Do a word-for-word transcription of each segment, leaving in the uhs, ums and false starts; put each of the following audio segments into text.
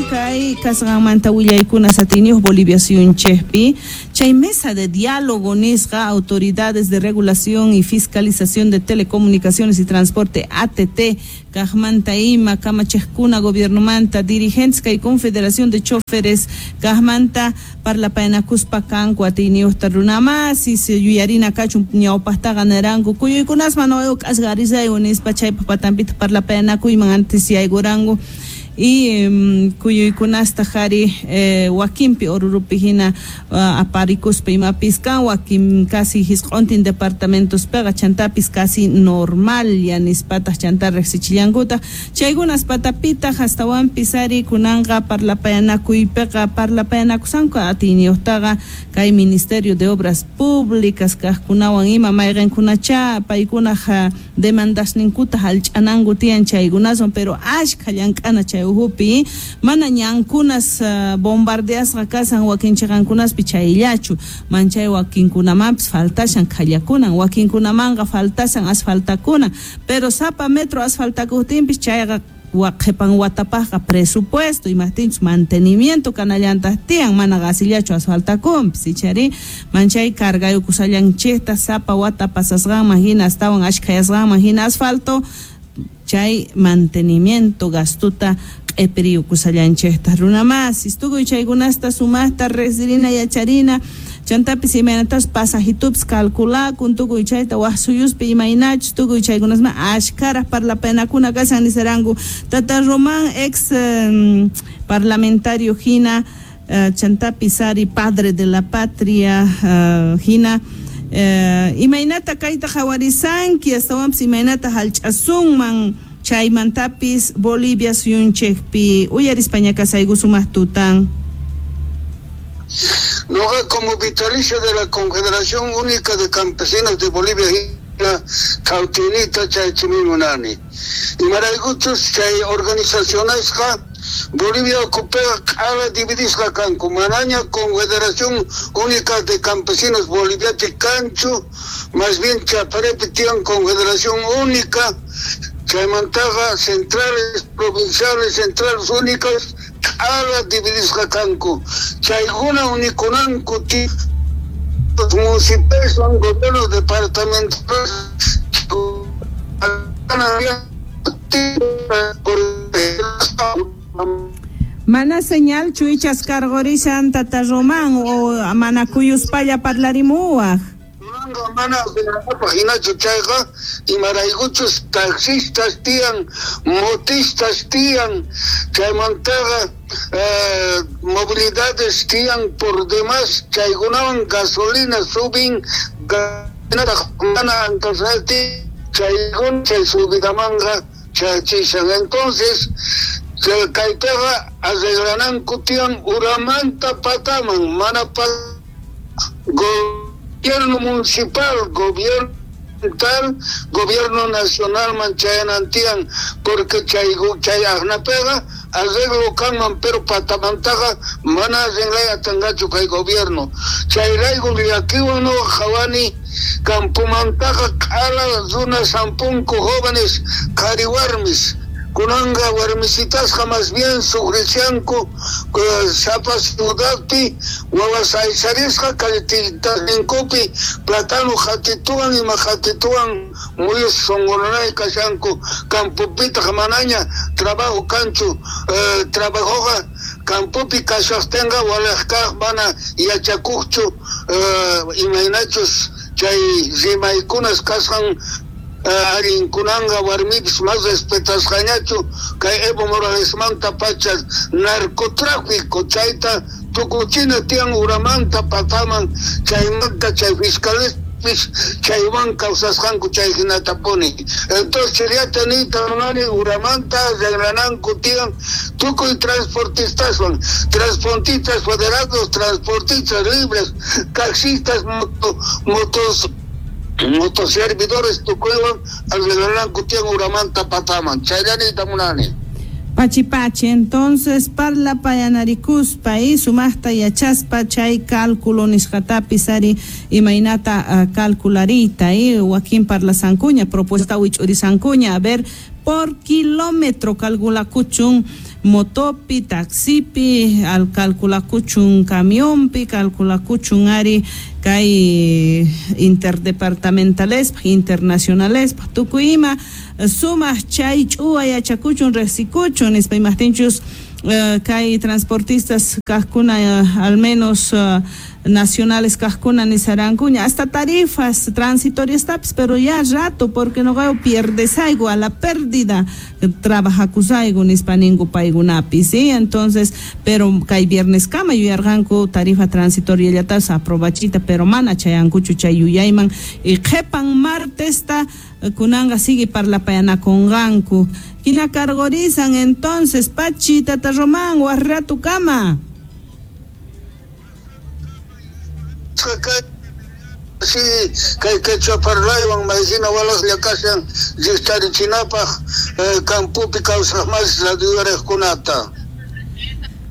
Kay kasqanmanta willaykuna satiniyuq Bolivia suyunchikpi chay mesa de diálogo nisqa autoridades de regulación y fiscalización de telecomunicaciones y transporte A T T kajmanta ima kamachiqkuna gobiernomanta dirigentes kay confederación de choferes kajmanta parlapayanakuspa kanku atiyniyuqta runamasis yuyarina kachun ñawpaqtaqa niranku kuyuykunasman k'asqarisayku nispa chaypaq patanpita parlapayanakuyman antes yaykuranku y um, kuyuykunasta jari eh, wakinpi Orurupi hina uh, aparikuspa imapis kan wakin casi hisq'untin departamentospiqa chantapis casi normal ya nispataq chanta riqsichillankuta chaykunas patapitaq astawanpis ari kunanqa parlapayanakuypiqa parlapayanakusanku atiyniyuqtaqa kay Ministerio de Obras Públicas kaqkunawan ima mayqinkunacha paykunaq demandasninkuta hallch'ananku tiyan chaykunaswan pero ashkha llank'ana chay uhupi mana ñankunas uh, bombardeasqa kasan wakinchiqankunaspi chayllachu manchay wakinkunamanpis faltashan khallakunan wakinkunamanqa faltashan asfaltakunan pero sapa metro asfaltakuqtinpis chayqa qhipan watapaqqa presupuesto imaqtinchus mantenimiento kanallantaq tiyan mana qasillachu asfaltakunpis ichari manchay cargayukusallanchikta sapa wata pasasqanman hina astawan ashkhayasqanman hina asfalto chay mantenimiento gastuta q'ipiriyukusallanchikta runamasis tukuy chaykunasta sumaqta riqsirina yacharina chantapis imaynatas pasajitupis calculakun tukuy chayta waj suyuspi imaynachus tukuy chaykunasman ashkaraj parlapayanakuna kashan nisaranku Tata Román ex um, parlamentario hina uh, chantapis ari padre de la patria uh, hina Uh, imaynata kayta qhawarisanki astawanpis imaynata hallch'asunman chaymantapis Bolivia suyunchikpi uyarispaña kasayku sumaq tutan. Noqa como vitalicio de la Confederación Única de Campesinos de Bolivia kawtinita chaychimi munani imaraykuchus chay organizacionesqa Bolivia ocupea q'ala dividisqa kanku manaña Confederación Única de Campesinos Boliviapi kanchu más bien Chaparepi tiyan Confederación Única chaymantaqa centrales provinciales centrales únicas q'ala dividisqa kanku chaykuna unikunanku los municipios son gobiernos departamentales Mana señal chuichas cargorishan Tata Román o mana kuyuspalla parlarimuwaj. Mana hinachu chayqa imaraykuchus taxistas tiyan motistas tiyan chaymantaqa eh, movilidades tiyan por demás chaykunawan gasolina subin mana antasnati chaykuna chay subidamanqa chaychishan entonces kaytaqa arreglananku tiyan uramanta pataman mana pa gobierno municipal, gobierno tal, gobierno nacional manchayanantian, porque chay chay ajnapega arreglo kanman pero patamantaqa mana arreglaya tangachu kay gobierno chayrayku llakiwan no qhawani campomantaqa q'ala runa sampunku jóvenes qhari warmis kunanga warmisitasqa más bien sufricianku sapa ciudadpi wawas aysarisqa kallititaninkupi platano qhatituwan ima qhatituwan muyus sunqunanay kashanku campopitaq manaña trabajo kanchu eh, trabajoqa campopi kashaqtinqa walaq kaq mana yachakuqchu eh, imaynachus chay rimaykunas kasqan allinkunanqa warmipis más respetasqañachu kay Evo Moralesmanta pacha narcotráfico chayta tukuchina tiyan uramanta pataman chaymanta chay fiscalespis chaywan kawsasqanku chay hinatapuni entonces chayllata niyta munani uramanta arreglananku tiyan tukuy transportistaswan transportistas federados transportistas libres taxistas moto, motos motoservidores tukuywan arreglananku tiyan uramanta pataman chayllanita munani. Pachi pachi, entonces parlapayanarikuspa y sumaqta yachaspa chay cálculo nisqatapis ari imaynata uh, calcularita y wakin parlasankuña propuesta wich'urisankuña a ver por kilómetro calculakuchun Motopi, taxipi, al calculakuchun camionpi, calculakuchun ari kay interdepartamentalespaj, internacionalespaj, tukuy ima sumaj chay ch'uwa yachakuchun riqsikuchun nispa imajtinchus uh, kay transportistas kajkuna uh, al menos uh, nacionales kajkuna nisarankuña hasta tarifas transitorias tapis, pero ya rato porque no gao pierdesaigo a la pérdida trabajakusaigo nispa ninku paykunapi, ¿sí? Entonces, pero kay viernes kama yuyarqanku tarifa transitoria llatas aprobachita, pero mana chayankuchu chay yuyayman y qhepan martesta kunanqa sigue parlapayanakunqanku hina cargorizan entonces Pachi, Tata Román, warratu kama. Sí, kay quechua parlaywan maysina walaqlla kashan riqtarichinapaq campopi kawsaq mas radiorejkunata.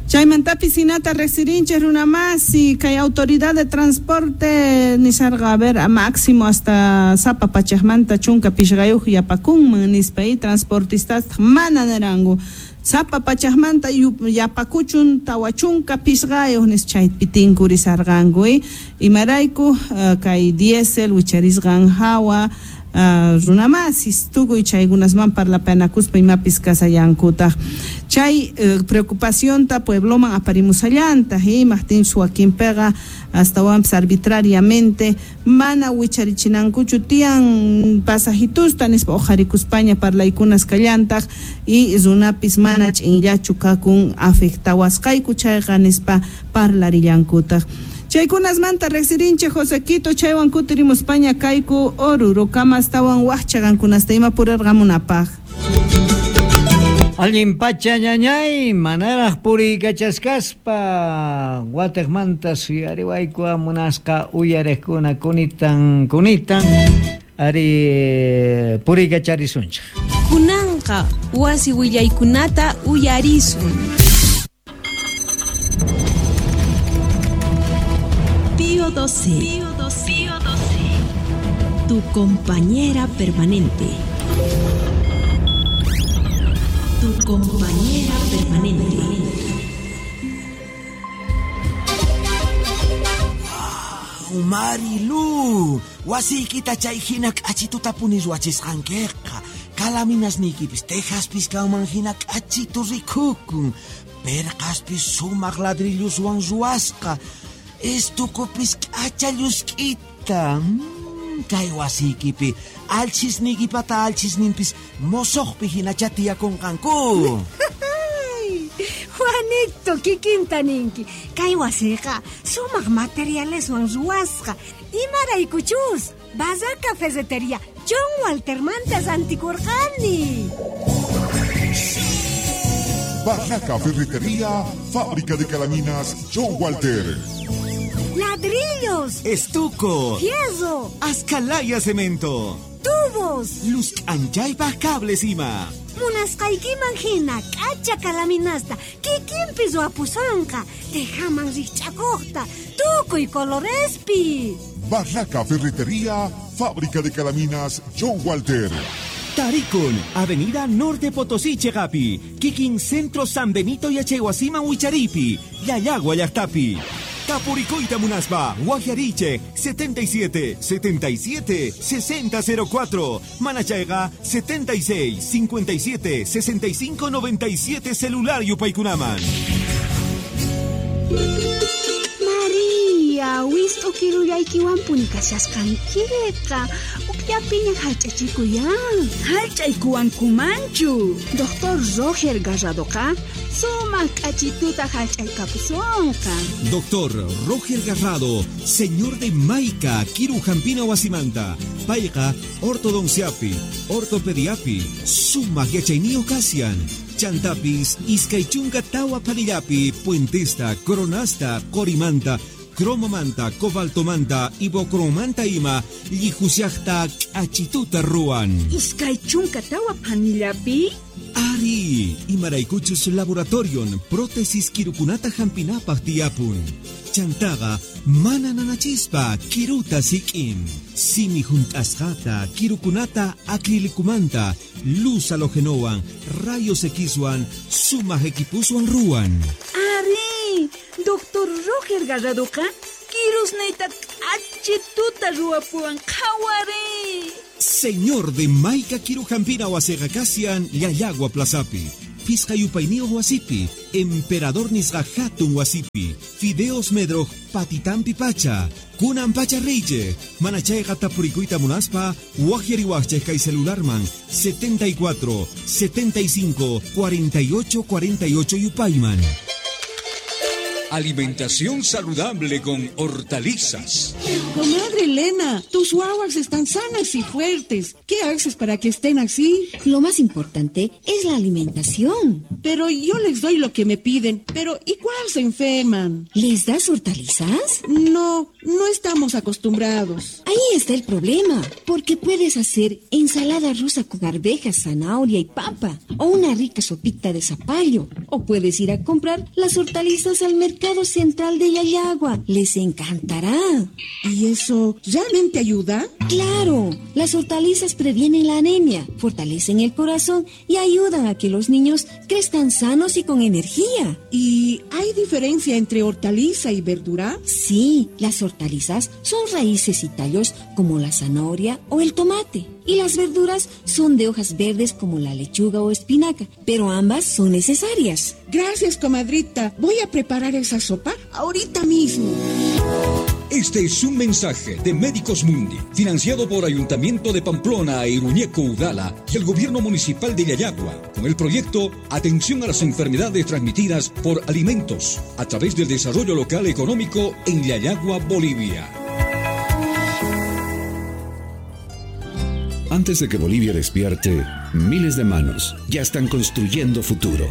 Chaymantapis hinata riqsirinchik runa masi kay autoridad de transporte nisarqa a ver a máximo hasta sapa pachajmanta chunka pishqayuq yapakunman nispa y transportistas mana niranku sapa pachajmanta yapakuchun tawa chunka pishqayuq nis chaypi tinkurisarqanku y imarayku uh, kay diésel wicharisqan hawa Uh, runamasis tukuy chaykunasman parlapanakuspa imapis kasallankutaq chay uh, preocupacionta puebloman aparimusallantaq imajtinchus wakinpiqa astawanpis arbitrariamente mana wicharichinankuchu tiyan pasajitusta nispa uqharikuspaña parlaykunas kallantaq y runapis mana ch'inllachu kakun afectawasqayku chayqa nispa parlarillankutaq. Chaykunasmanta riqsirinchik Josequito chaywan kutirimuspaña kayku Oruro kama astawan waqcha qankunasta ima purirqamunapaq. Allin pacha ñañay manaraq puriykachasqaspa wataqmanta suyariwayku munasqa uyariqkuna kunitan kunitan ari puriykacharisunchik. Kunanqa wasi willaykunata uyarisun. Pío doce. Pío doce. Pío doce. Tu compañera permanente. Tu compañera permanente. Wow, Marilu, wasiykita chay hina k'achituta puni ruwachisqankiqa. Kalaminasniykipis tejaspis kanman hina k'achitu rikukun. Perqaspis sumaq ladrilloswan ruwasqa. Estukupis k'acha llusk'ita. Mm, kay wasiykipi alchisniykipata alchisninpis mosoqpi hinacha tiyakunqanku. Juanito, kikinta ninki. Kay wasiyqa sumaq materialeswan ruwasqa. Imaraykuchus Barraca Ferretería John Waltermanta rantikurqani. Barraca Ferretería, fábrica de calaminas John Walter. Ladrillos, estuco, fierro, ascalaya cemento, tubos, luz anchaypaj cables ima. Munasqaykiman hina k'acha kalaminasta kikinpi ruwapusanqa tejaman rikch'akuqta tukuy colorespi. Barraca Ferretería, fábrica de calaminas John Walter. Taricon, Avenida Norte Potosí, Chegapi, Kikin Centro San Benito y Achehuasima Huicharipi, Yayagua Llaqtapi. Tapuricoita Munaspa, Guajiariche, setenta y siete, setenta y siete, sesenta cero cuatro, Manachaiga, setenta y seis, cincuenta y siete, sesenta y cinco, noventa y siete, celular Yupaykunaman. María, wist'u kirullaykiwan punikashasqankiqa, ukllapiña hallch'achikuyan. Hallch'aykuwankumanchu. Doctor Roger Garradoqa sumaq k'achituta hallch'aykapusunqa. Doctor Roger Garrado, señor de Maica, Kiru Jampina Wasimanta, payqa ortodonciapi, ortopediapi, sumaq yachayniyuq kasian. Chantapis, iskay chunka tawa palillapi, puentesta, coronasta, corimanta, Cromomanta, cobaltomanta, ibocromanta ima llihushaqta k'achituta ruwan. Iskay chunka tawa phanillapi? Ari, imaraykuchus laboratorion prótesis kirukunata hampinapaq tiyapun. Chantaqa mana nanachispa kiruta sik'in. Simi hunt'asqata kirukunata acrilikumanta luz halogenowan rayos Xwan sumaq equipuswan ruwan. Ari, doctor Roger Garradoqa kirusniyta k'achituta ruwapuwan qhawari. Señor de Maica Kirujampina wasiqa kasian Llallagua Plazapi, Pisqa yupayniyuq wasipi, Emperador nisqa hatun wasipi, Fideos Medroj patitampi pacha, kunan pacha riychej, mana chayqa tapurikuyta munaspa, waqyariwaqchej kay celularman setenta y cuatro, setenta y cinco, cuarenta y ocho, cuarenta y ocho yupayman. Alimentación saludable con hortalizas. Comadre Elena, tus guaguas están sanas y fuertes. ¿Qué haces para que estén así? Lo más importante es la alimentación. Pero yo les doy lo que me piden. Pero igual se enferman. ¿Les das hortalizas? No, no estamos acostumbrados. Ahí está el problema. Porque puedes hacer ensalada rusa con arvejas, zanahoria y papa. O una rica sopita de zapallo. O puedes ir a comprar las hortalizas al mercado Central de Llallagua. Les encantará. ¿Y eso realmente ayuda? ¡Claro! Las hortalizas previenen la anemia, fortalecen el corazón y ayudan a que los niños crezcan sanos y con energía. ¿Y hay diferencia entre hortaliza y verdura? Sí, las hortalizas son raíces y tallos como la zanahoria o el tomate. Y las verduras son de hojas verdes como la lechuga o espinaca, pero ambas son necesarias. Gracias, comadrita. Voy a preparar esa sopa ahorita mismo. Este es un mensaje de Médicos Mundi, financiado por Ayuntamiento de Pamplona e Iruñeco Udala y el Gobierno Municipal de Llallagua, con el proyecto Atención a las Enfermedades Transmitidas por Alimentos, a través del Desarrollo Local Económico en Llallagua, Bolivia. Antes de que Bolivia despierte, miles de manos ya están construyendo futuro.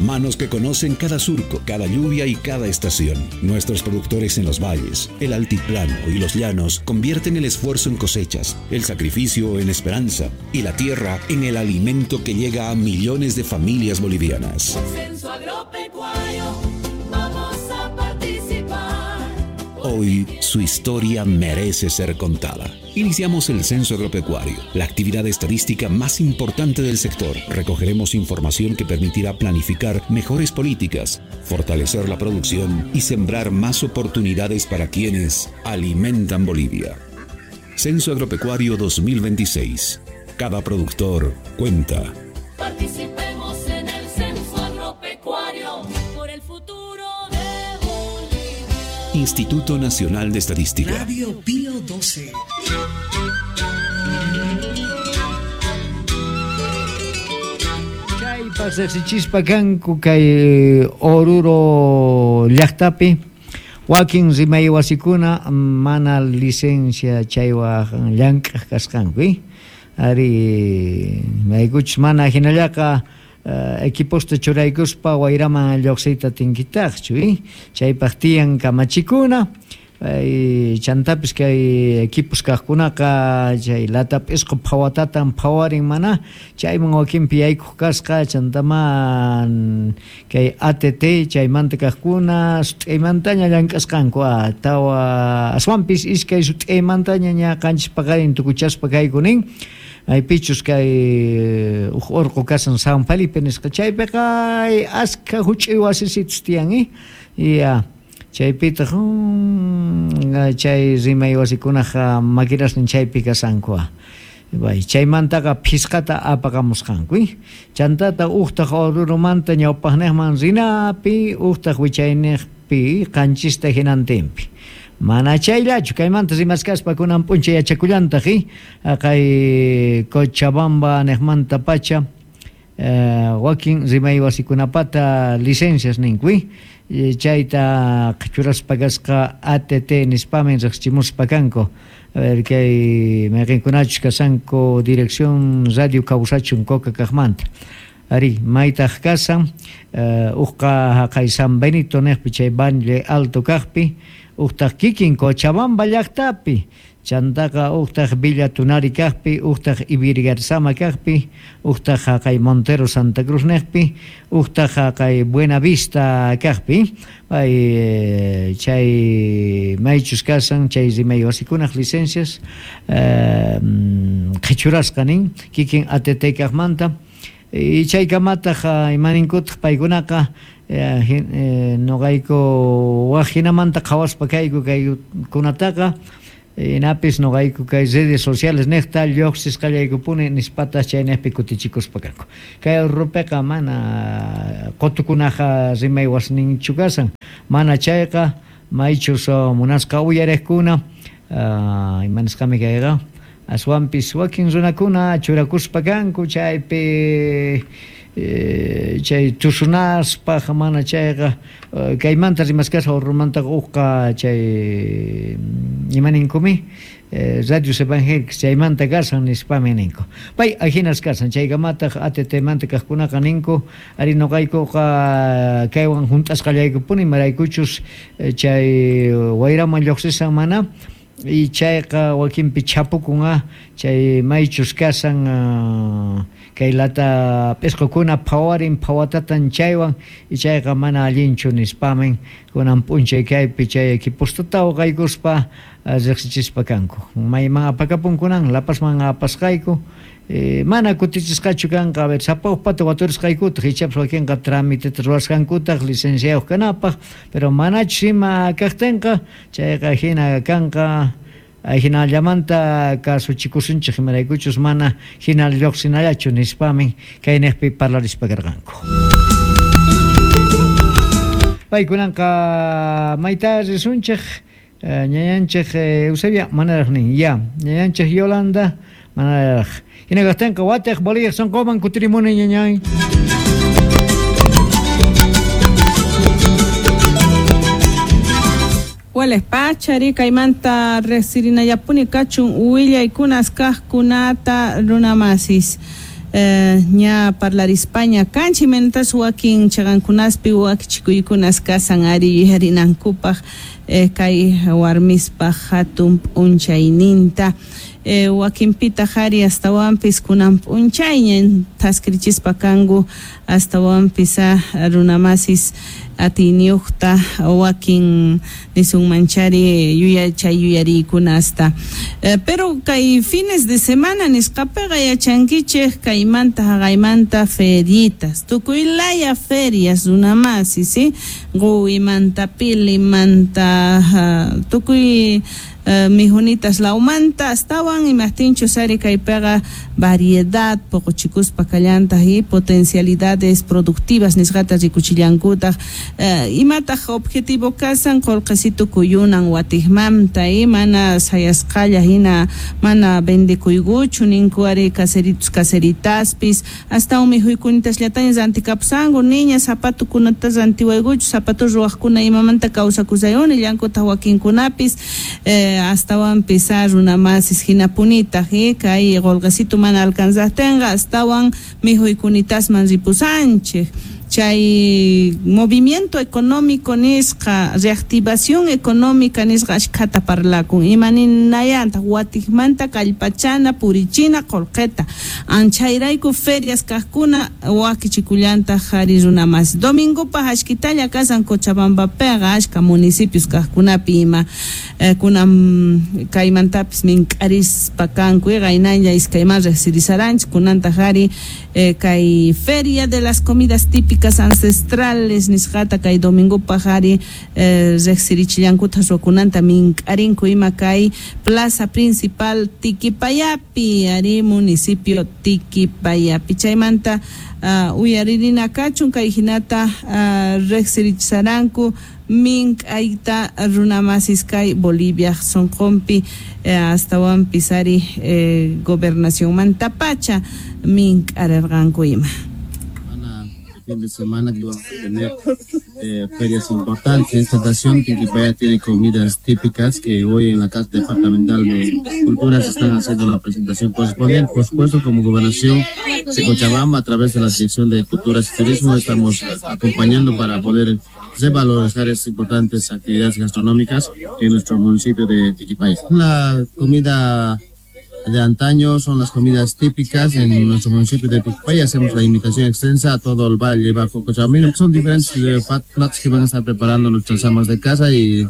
Manos que conocen cada surco, cada lluvia y cada estación. Nuestros productores en los valles, el altiplano y los llanos convierten el esfuerzo en cosechas, el sacrificio en esperanza y la tierra en el alimento que llega a millones de familias bolivianas. Censo agropecuario, vamos a participar. Hoy su historia merece ser contada. Iniciamos el Censo Agropecuario, la actividad estadística más importante del sector. Recogeremos información que permitirá planificar mejores políticas, fortalecer la producción y sembrar más oportunidades para quienes alimentan Bolivia. Censo Agropecuario dos mil veintiséis. Cada productor cuenta. Participemos en el Censo Agropecuario por el futuro de Bolivia. Instituto Nacional de Estadística. Radio Pío doce. Chaypas riqsichispa kanku kay Oruro llaqtapi wakin rimay wasikuna mana licencia chaywan llank'aq kasqanku, ari maykuchus mana hinallaqa Uh, equiposta churaykuspa wayraman lluqsiyta tinkitaqchu, eh? Chaypaq tiyan kamachikuna, eh, chantapis kay equipos kaqkunaqa chay lata p'isqu phawatatan phawarin mana chayman wakinpi yaykuq kasqa, chantaman kay A T T chaymanta kaqkuna sut'aymantaña llank'asqanku, ah, tawa aswanpis iskay sut'aymantaña ña qanchis paqarin tukuchaspa kayku nin. Maypichus kay uj urqu kasan San Felipe nisqa chaypiqa askha huch'uy wasisitus tiyan, eh? Ya chaypitaq um, chay rimay wasikunaqa maquinasnin chaypi kasanku. Bay chaymantaqa phisqata apaqamusqanku, eh? Chantata uqtaq Orurumanta ñawpaqniqman rinapi, uqtaq wichayniqpi qanchista hinantinpi. Mana chayllachu kaymanta rimaskaspa kunan p'unchay yachakullantaq, eh? Kay Cochabamba niqmanta pacha eh, wakin rimay wasikunapata licencias ninku, eh? Chayta qhichuraspa kasqa A T T nispamin riqsichimuspa kanku. A ver kay mayqinkunachus kasanku Dirección Radio Kawsachun Coca kaqmanta. Ari maytaq kasan uqqa haqay San Benito neqpi chay Valle Alto kaqpi, uqtaq kikin Cochabamba llaqtapi, chantaqa uqtaq Villa Tunari kaqpi, uqtaq Ibirgarzama kaqpi, uqtaq haqay Montero Santa Cruz neqpi, uqtaq haqay Buena Vista kaqpi. Pay chay maychus kasan chay rimay wasikunaq licencias qhichurasqa nin kikin A T T kaqmanta. Y chaykamataq imaninkutaq paykunaqa noqayku waq hinamanta qhawaspa kayku kaykunataqa inapis noqayku kay redes sociales neqta lluqsisqallaykupuni nispatas chaynejpi kutichikuspa kanku. Kay rupeqa mana qutukunaqa rimay wasninchu kasan, mana chayqa maychus munasqa uyariqkuna imanisqami kayqa aswanpis wakin runakuna churakuspa kanku chaypi chay tusunaspaq mana chayqa kaymanta rimaskasqa urrumantaqa uqqa chay imaninkumi radios evangélicos chaymanta kasan nispami ninku. Pay ajinas kasan chaykamataq A T T manta kaqkunaqa ninku ari noqaykuqa kaywan hunt'asqallaykupuni maraykuchus chay wayraman lluqsisan mana y chayqa wakinpi chapukun chay maychus kasan kay lata p'isqukuna phawarin phawatatan chaywan y chayqa mana allinchu nispamin kunan p'unchay kaypi chay equipostata uqaykuspa riqsichispa kanku. Mayman apakapunkunan Lapasman apasqayku mana kutichisqachu kanqa a ver sapa uqpata waturisqaykutaq ichapas wakinqa tramiteta ruwasqankutaq licenciayuq kanapaq, pero manachus ima kaqtinqa chayqa hina kanqa hinallamanta kasuchikusunchik imaraykuchus mana hina lluqsinallachu nispamin kayniqpi parlarispa karqanku. Paykunanqa mayta risunchik ñañanchik Eusebia manaraq nin ya ñañanchik Yolanda manaraq hina kaqtinqa watiq Bolivia sunquman kutirimuni ñañay. Wales pachari kaymanta resirinayapuni kachun willaykunas kaqkunata runamasis. Ña parlarispaña kanchi mentas wakin chaqankunaspi wakichikuykunas kasan ari yarinankupaq kay warmispaq hatun p'unchayninta wakinpitaq ari astawanpis kunan p'unchayña thaskirichispa kanku astawanpis runamasis atiyniyuqta wakin nisunmanchari yuyachay yuyariykunasta. Pero kay fines de semana nisqapiqa yachankichik kaymanta haqaymanta feritas tukuy laya ferias runamasi, ¿sí? Quwimanta, pilimanta, tukuy mijunitas lawmanta astawan imaqtinchus ari kaypiqa variedad poqochikuspa kallantaq y potencialidades productivas nisqata rikuchillankutaq imataq objetivo kasan qullqisitu kuyunan watiqmanta y mana sayasqalla hina mana vendekuykuchu ninku ari caseritos caseritaspis astawan mikhuykunitasllatanya rantikapsanku niña zapatukunata rantiwaykuchu zapatu ruwaqkuna imamanta kawsakusayuni llankutaq wakinkunapis eh, astawanpis runamasis hinapunitaq kay qullqisitu mana alcanzaqtinqa astawan mikhuykunitaman ripusanchik. Chay movimiento económico nisqa reactivación económica nisqa ashkhata parlakun imaninayanta watiqmanta kallpachana purichina qullqita anchayrayku ferias kaqkuna wakichikullantaq ari runamas domingopaq ashkitalla kasan Cochabambapiqa ashka municipios kaqkunapi ima kunan kaymantapis mink'arispa kanku qaynalla iskayman riqsirisaranchik kunantaq ari kay feria de las comidas típicas ancestrales nisqata kay domingopaq ari riqsirichillankuta ruwakunanta mink'arinku ima kay plaza principal Tiquipayapi ari municipio Tiquipayapi chaymanta uyaririna kachun kay hinata riqsirichisaranku mink'ayta runamasis kay Bolivia sunqunpi astawanpis ari gobernacionmantapacha mink'arirqanku ima. fin de semana que vamos a tener eh, ferias importantes. En esta ocasión, Tiquipaya tiene comidas típicas que hoy en la Casa Departamental de Cultura se están haciendo la presentación correspondiente. Por supuesto, como Gobernación de Cochabamba, a través de la Dirección de Culturas y Turismo, estamos acompañando para poder revalorizar estas importantes actividades gastronómicas en nuestro municipio de Tiquipaya. La comida de antaño son las comidas típicas en nuestro municipio de Tiquipaya. Hacemos la invitación extensa a todo el Valle Bajo Cochabambino. Son diferentes platos que van a estar preparando nuestras amas de casa y,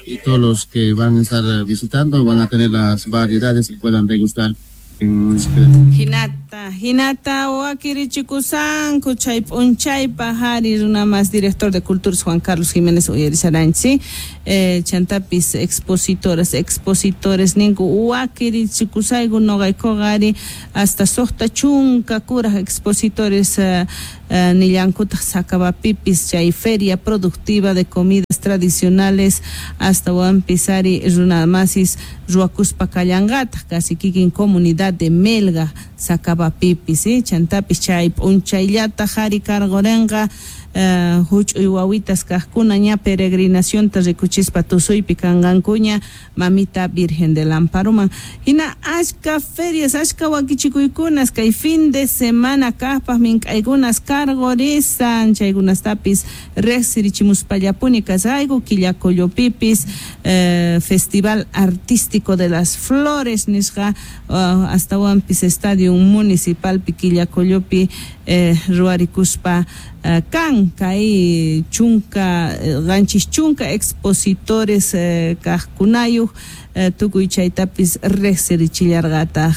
y todos los que van a estar visitando van a tener las variedades que puedan degustar. Hinata, hinata, wakirichikusanku chay p'unchaypa hari runa más director de Culturas Juan Carlos Jiménez uyarisaranchi, eh, chantapis expositoras, expositores ninku wakirichikusayku noqaykuqa ari hasta suqta chunka kuraj expositores uh, uh, nillankutaq Sacabapipis chay feria productiva de comidas tradicionales hasta wampis ari runa masis ruwakuspa kallanqataq casi kikin comunidad de Melga Sacabapipis, ¿sí? Chantapis chay p'unchayllata hari karqurenqa uh, huch'uy wawitas kaqkuna ña peregrinacionta rikuchispa tusuypi kanqankuña mamita Virgen del Amparoman. Hina achka ferias, achka wakichikuykunas kay fin de semana kaqpaq mink'aykunas karqurisan chaykunastapis riqsirichimuspallapuni kasayku Quillacollopipis eh, Festival Artístico de las Flores nisqa uh, astawanpis Estadio Municipalpi Quillacollopi eh, ruwarikuspa uh, kan kay chunka qanchis chunka expositores eh, kaqkunayuq eh, tukuy chaytapis riqsirichillarqataq.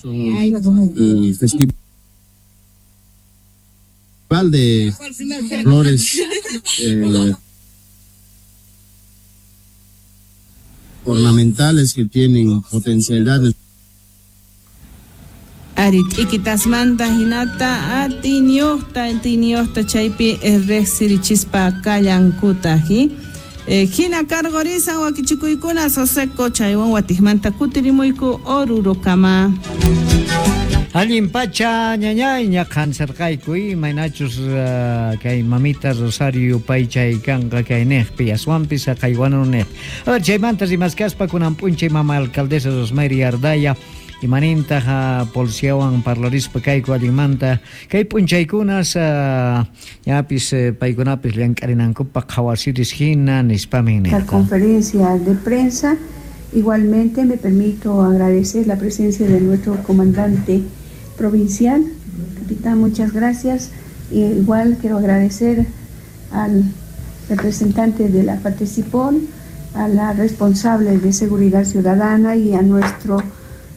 El festival de flores eh, ornamentales que tienen potencialidades. Ari t'ikitasmanta hinata atiniuqta atiniuqta chaypi riqsirichispa kallankutaq. Eh, hina karqurisan wakichikuykuna Soseco chaywan watiqmanta kutirimuyku Orurokama. Allin pacha ñañay ñaqhansarqayku imaynachus uh, kay mamita Rosario paychay kanqa kay niqpi aswanpis haqaywanu niq. A ver, chaymanta rimaskaspa kunan p'unchay mama alcaldesa Rosmery Ardaya imanintaq uh, policiawan parlarispa kayku allinmanta kay p'unchaykunas uh, ñapis uh, paykunapis llank'arinankupaq qhawasiris hina nispamin nirqa. La conferencia de prensa, igualmente me permito agradecer la presencia de nuestro comandante provincial, capitán, muchas gracias. Igual quiero agradecer al representante de la Participol, a la responsable de Seguridad Ciudadana y a nuestro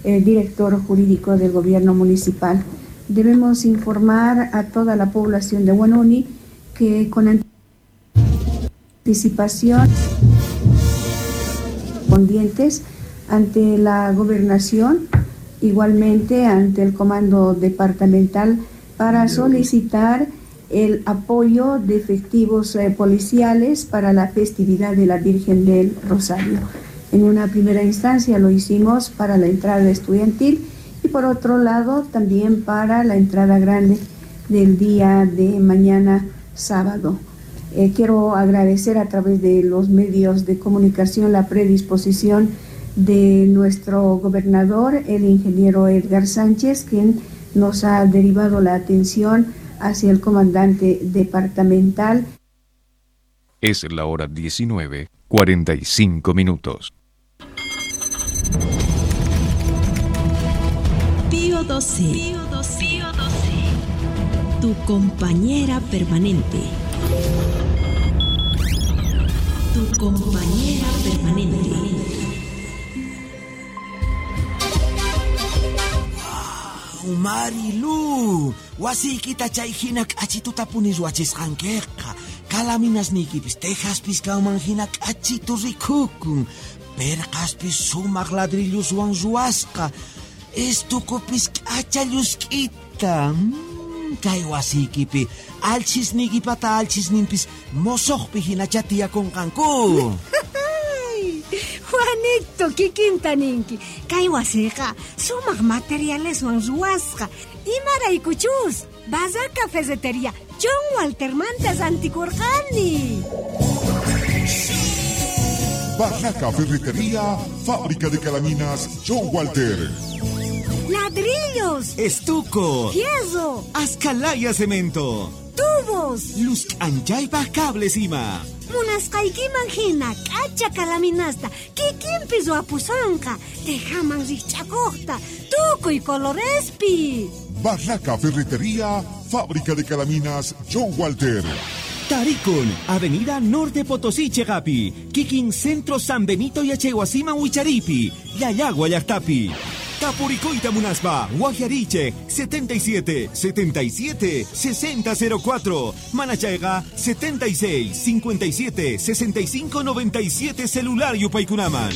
eh, director jurídico del gobierno municipal. Debemos informar a toda la población de Huanuni que con anticipación correspondientes ante la gobernación, igualmente ante el comando departamental, para solicitar el apoyo de efectivos eh, policiales para la festividad de la Virgen del Rosario. En una primera instancia lo hicimos para la entrada estudiantil y por otro lado también para la entrada grande del día de mañana sábado. Eh, quiero agradecer a través de los medios de comunicación la predisposición de nuestro gobernador, el ingeniero Edgar Sánchez, quien nos ha derivado la atención hacia el comandante departamental. Es la hora diecinueve, cuarenta y cinco minutos. Pío doce, Pío doce, Pío doce, tu compañera permanente. Tu compañera permanente. Wow, Marilu, wasiykita chay hina k'achituta punis wachisqankiqa. Kalaminasniykipis tejaspis kanman hina k'achitu rikukun. Perqaspis sumaq ladrilluswan ruwasqa. Estukupis k'acha llusk'ita. Mm, kay wasiykipi alchisniykipata alchisninpis mosoqpi hinacha tiyakunqanku. Juanito, kikinta ninki. Kay wasiqa sumaq materialeswan ruwasqa. Imaraykuchus, Barraca Ferretería John Waltermanta rantikurqani. Barraca Ferretería, fábrica de calaminas John Walter. Ladrillos, estuco, fierro, ascalaya cemento, tubos, luz anchaypa cables ima. Munasqaykiman hina k'acha kalaminasta kikinpi ruwapusonqa, tejaman rikch'akuqta, tukuy colorespi. Barraca Ferretería, fábrica de calaminas John Walter. Taricon, Avenida Norte Potosí, Chegapi, Kikin Centro San Benito y Achehuasima Huicharipi, Yayagua Llaqtapi. Tapuricoita Munaspa, Guajariche, setenta y siete, setenta y siete, sesenta cero cuatro, Manachaiga, setenta y seis, cincuenta y siete, sesenta y cinco, noventa y siete, celular Yupaycunaman.